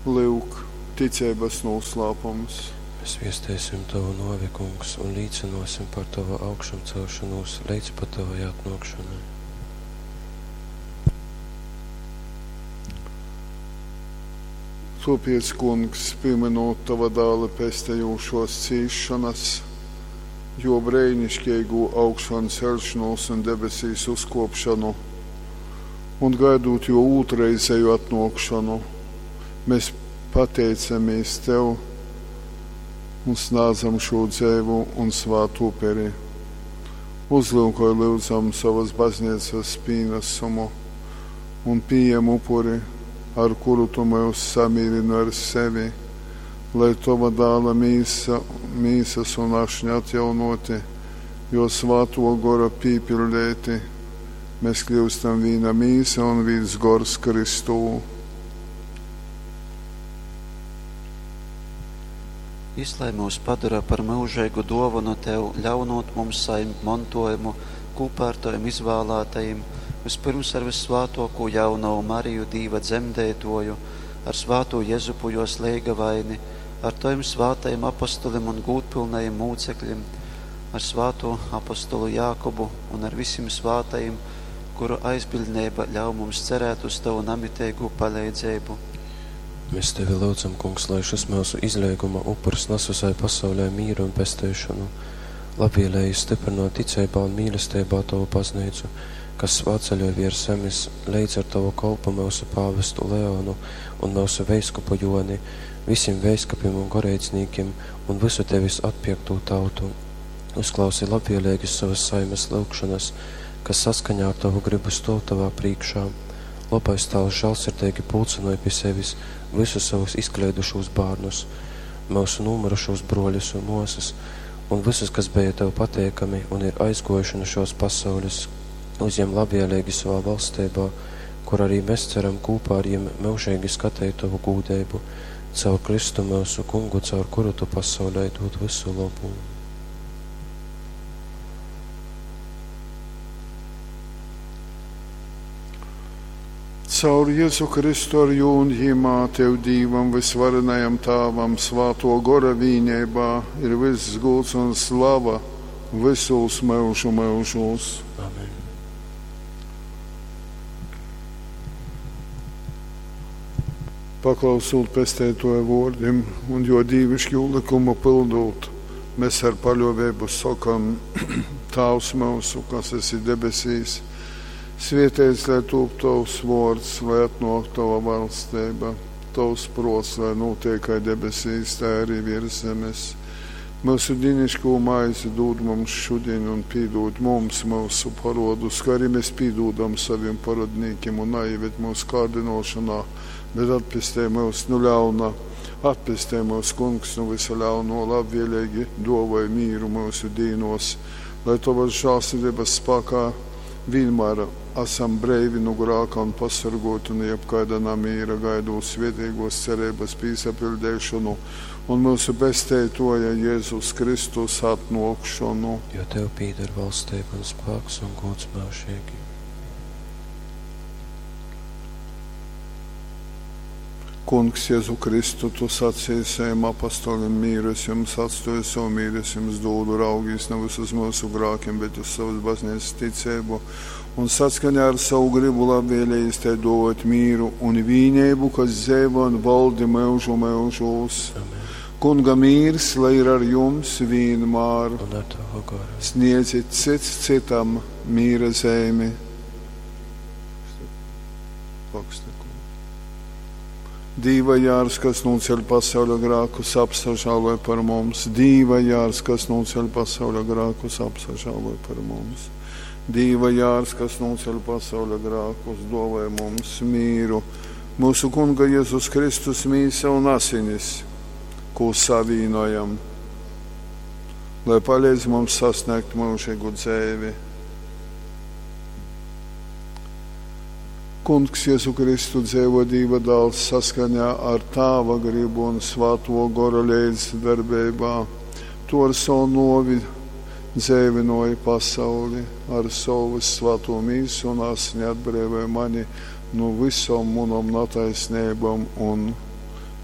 Lyuk, ticeibas nūslāpums. Mēs viesteisim Tovu nōvi, Kungs, un līcynōsim par Tovu augšamcelšonūs leidz pat Tovai atnōkšonai. Tōpēc, Kungs, pīmynūt Tova Dāla pestejūšōs cīsšonas, Jō breiniškeigū augšanceļšonūs un debesīs uzkōpšonu, un gaidūt Jō ūtrreizeju atnōkšonu, mēs pateicamīs Tev un snādzam šū dzeivu un svātu uperi. Uzlyukoj, lyudzam, sovas bazneicas pīnasumu un pījem upuri, ar kuru Tu myus samīrynoj ar sevi, lai Tova Dāla mīsa, mīsas un ašņa atjaunoti, Jo Svātō Gora pīpiļdeiti, mēs kļūstam vīna mīsa un vīns gors Kristū. Jys lai myus padora par myužeigu dōvonu tev, ļaunūt mums sajimt montōjumu kūpā ar tovim izvālātajim, vyspyrms ar vyssvātōkū jaunovu Mariju, Dīva dzemdeitōju, ar svātū Jezupu jōs leigavaini, ar tovim svātajim apostolim un gūdpylnajim mūcekļim, ar svātū apostolu Jākubu un ar visim svātajim, kuru aizbiļdneiba ļauj mums cerēt uz tovu namiteigū paleidzeibu. Mēs Tevi lyudzam, Kungs, lai šys myusu izleiguma upurs nas visai pasaulei mīru un pesteišonu. Labvēlīgi stiprinot ticeibā un mīlesteibā Tovu baznīcu, kas svētceļoj viers zemes, leidz ar Tovu kolpu myusu pāvestu Leonu un myusu veiskupu Joni, visim veiskupim un goreidznīkim un visu Tevis atpierktū tautu. Uzklausi labvēlīgi savas saimes lyugšanas, kas saskaņā ar Tovu gribu stōv Tavā prīkšā. Lobais Tāvs žālsirdeigi pulcynoj pi sevis visus savus izkleidušūs bārnus, myusu nūmyrušūs brōļus un mōsas, un visus, kas beja Tev pateikami un ir aizgōjuši nu šōs pasaules, uzjem labvēlīgi savā valsteibā, kur arī mēs ceram kūpā ar jim myužeigi skateit Tovu gūdeibu, caur Kristu myusu Kungu, caur kuru Tu pasaulei dūd visu lobu. Caur Jezu Kristu ar jū un jimā Tev Dīvam vysvarenajam Tāvam svātō Gora vīneibā ir vyss gūds un slava vysūs myužu myužūs. Amen. Paklausūt Pesteitōja vōrdim un jō dīviškū lykumu pyldūt, mēs ar paļōveibu sokam: Tāvs myusu, kas esi debesīs, svētīts lai tūp Tovs vōrds, lai atnōk Tova valsteiba, Tovs prōts, lai notiek kai debesīs, tai arī virs zemes. Myusu dīnišķo maizi dod mums šodien un pīdod mums mūsu parodus, kā arī mēs pīdodam saviem parodnīkiem un neieved mūsu kārdinošanā, bet atpestī mūs no ļauna. Atpestī mūs, Kungs, no visa ļauno, labvēlīgi dāvāj mīru mūsu dīnos, lai Tavas žēlsirdības spēkā vienmēr esam breivi no grāka un pasargoti no jebkāda namīra, gaidot svētīgos cerības pīsapildīšanu un mūsu Pesteitoja Jēzus Kristus atnākšanu. Jo Tev pīder valstība un spēks un gods mūžīgi. Kungs, Jēzu Kristu, tu sacīji saviem apostolim, mīru es jums atstāju, savu mīru es jums dodu, raugīs nevis uz mūsu grākiem, bet uz savas baznīcas ticību, un saskaņā ar savu gribu labvēlījis te dot mīru un vīnību, kas dzīvo un valdi mūžu mūžos. Amen. Kunga mīrs, lai ir ar jums vienmēr. Un ar Tavu garu. Sniedzit cits citam mīra zīmi. Dīva jārs, kas noceļ pasauļa grākus, apsažāloj par mums. Dīva jārs, kas noceļ pasauļa grākus, apsažāloj par mums. Dīva jārs, kas noceļ pasauļa grākus, dāvāj mums mīru. Mūsu Kunga Jēzus Kristus mīsa un asinis, ko savīnojam, lai palīdz mums sasniegt mūžīgu dzīvi. Kungs Jēzu Kristu dzīvo Dieva dēls saskaņā ar Tāva gribu un Svāto Gora līdzdarbībā. Tu ar savu novi dzēvinoji pasauli, ar savu svēto mīsu un asini atbrīvoji mani no visām manām netaisnībām un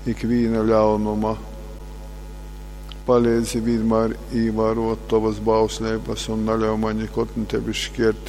Ikvīna ļaunuma. Paleidzi vīnmār īvārōt tovas bausleibas un naļauj maņ nikod nu tevis škiertīs.